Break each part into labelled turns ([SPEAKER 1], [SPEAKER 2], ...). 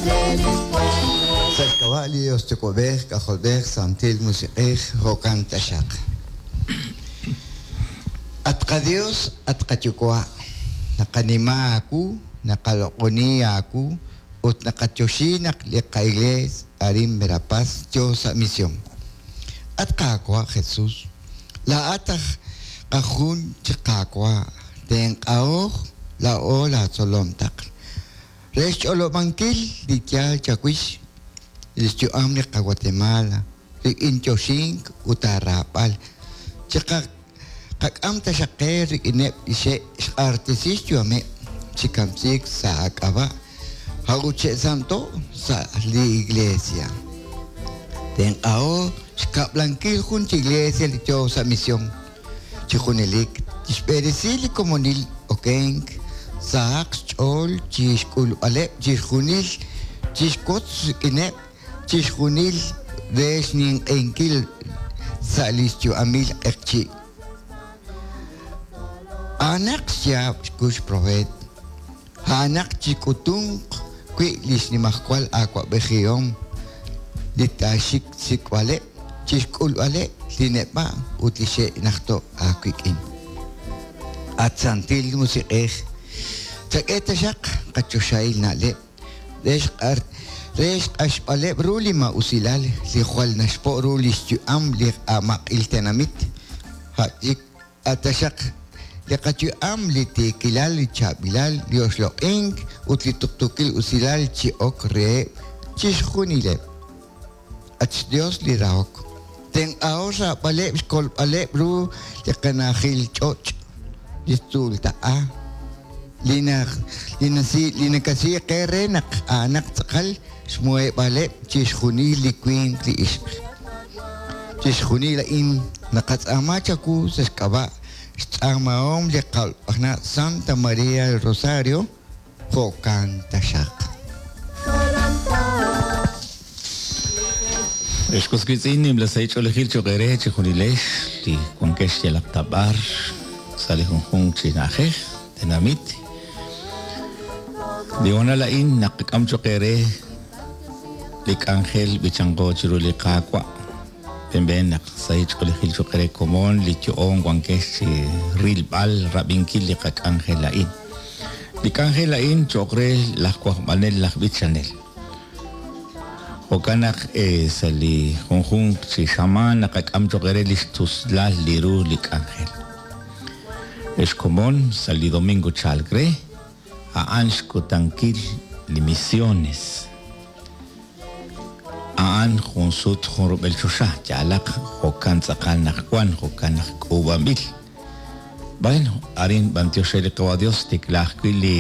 [SPEAKER 1] Sa' xk'ab'a' li Dios Yuwa'b'ej, K'ajolb'ej, Santil Musiq'ej, jo'kan taxaq. At qaDios, at qaYuwa', naqanima aawu, naqaloq'oni aawu, ut naqatyoxi naq li qaIglees arin Verapaz yo sa' misión. At Qaawa' Jesus, laa'at aj qajun chi Qaawa', tenq'ahoj laa'o laatzolom taql re xch'olob'ankil li yaal chawix li xyu'am li qaGuatemala rik'in yoxink ut aaraab'al. Chiqak'am taxaq qe rik'ineb' li xe'xq'axtesi xyu'ameb' chi kamsiik sa' aak'ab'a', a'ut xe'santo' sa' li Iglesia. Tenq'aho xkab'lankil jun chi Iglesia li yo sa' misión chi junelik tixb'eresi li komonil okenk sahaq xch'ool chi xk'ulb'aleb' chixjunil chixwotz rik'ineb' chixjunil re xninq'ehinkil sa' li xyu'amil q'eqchi'. A'anaq xyaab' xkux propeet, a'anaq chik'utunq wi' li xnimajwal awa'b'ejihom li taaxik xsik'b'aleb' chi xk'ulb'aleb' li neb'a' ut li xe'najto' aawik'in. At Santil Musiq'ej, chak'e taxaq qachoxahil na'leb' re xq'axb'aleb' ru li maa'usilal li jwal naxpo' ru li xyu'am li amaq'il tenamit, a' taxaq li qayu'am li tiikilal, li chaab'ilal, li oxloq'ink ut li tuqtuukil usilal chi ok reheb' chixjunileb'. At xDios li rahok, tenq'aho xraab'aleb' xkolb'aleb' ru li qana'ajil ch'och', li tzuultaq'a, li nakasi qe re naq a'anaq tz'aqal xmuheb'aaleb' chixjunil li winq li ixq. Chixjunil a'in naqatz'aama chawu sa' xk'ab'a' xtz'aamahom li Qa'na Santa María del Rosario, jo'kan taxaq.
[SPEAKER 2] Ex was wiitz'in, nimla sahil ch'oolejil cho'q eere chejunilex li wankex yalaq ta b'ar sa' li junjunq chi na'ajej, tenamit. Li hoonal a'in naqak'am cho'q eere li k'anjel b'ichanqo chiru li Qaawa'. Benb'een naq sahil ch'oolejil cho'q eere komon li yo'oon wankex chi rilb'al rab'inkil li qak'anjel a'in. Li k'anjel a'in cho'q re laj wajb'anel laj b'ichanel. Jo'kan naq sa' li junjunq chi xamaan naqak'am cho'q eere li xtuslal li ru li k'anjel. Ex komon, sa' li domingo chalk re, a'an xkutankil li misiones. A'an jun sut jun rub'el choxa, yaalaq jo'kan tz'aqal naq wan, jo'kan naq k'uub'anb'il. Bueno, arin b'antiox re li Qawa' Dios xtikla ajwi' li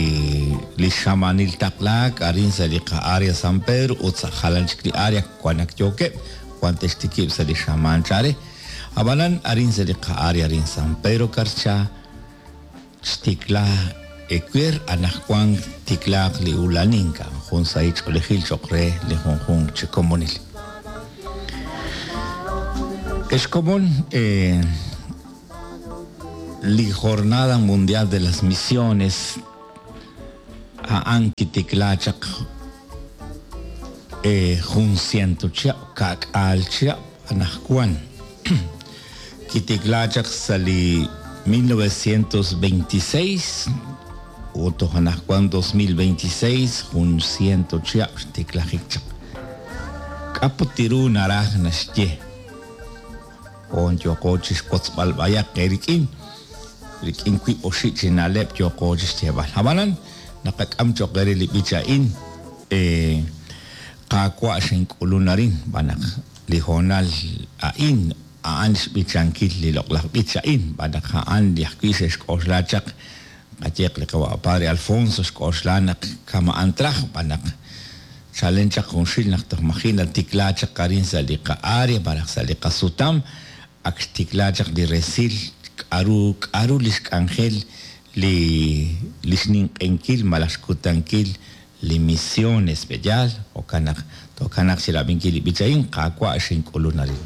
[SPEAKER 2] li xamaanil taqlaak arin sa' li qa-área San Pedro ut sa' jalan chik li área wan ak yookeb', wan te'xtikib' sa' li xamaan chal re. Ab'anan arin sa' li qa-área arin San Pedro Carchá, Xtikla ewer, anajwank tiklaaq li ulanink, a'an jun sahil ch'oolejil cho'q re li junjunq chi komonil. Ex komon, li Jornada Mundial de las Misiones a'an kitikla chaq jun ciento chihab', ka'k'aal chihab' anajwan. Kitikla chaq sa' li 1926 ut toj anajwan 2026 jun ciento chihab' xtiklajik chaq. K'a' put ru naraj naxye? Hoon yooqo chixwotzb'al b'ayaq eerik'in, rik'in wiib' oxib' chi na'leb' yooqo chixyeeb'al. Ab'anan, naqak'am cho'q eere li b'ich a'in, Qaawa' xink'ulun arin, xb'aan naq li hoonal a'in a'an xb'ichankil li loq'laj b'ich a'in, xb'aan naq a'an li ajwi' xe'xk'oxla chaq, qayehaq li qawa' Padre Alfonso xk'oxla naq kama'an traj, xb'aan naq chalen chaq junxil naq toj maji' natikla chaq arin sa' li qa'área malaj sa' li qasutam, ak xtikla chaq li resil k'a'ru k'a'ru li xk'anjel li li xninq'ehinkil malaj xkutankil li misiones, pe' yaal? Jo'kan naq tookanaq chi rab'inkil li b'ich a'in, Qaawa' xink'ulun arin.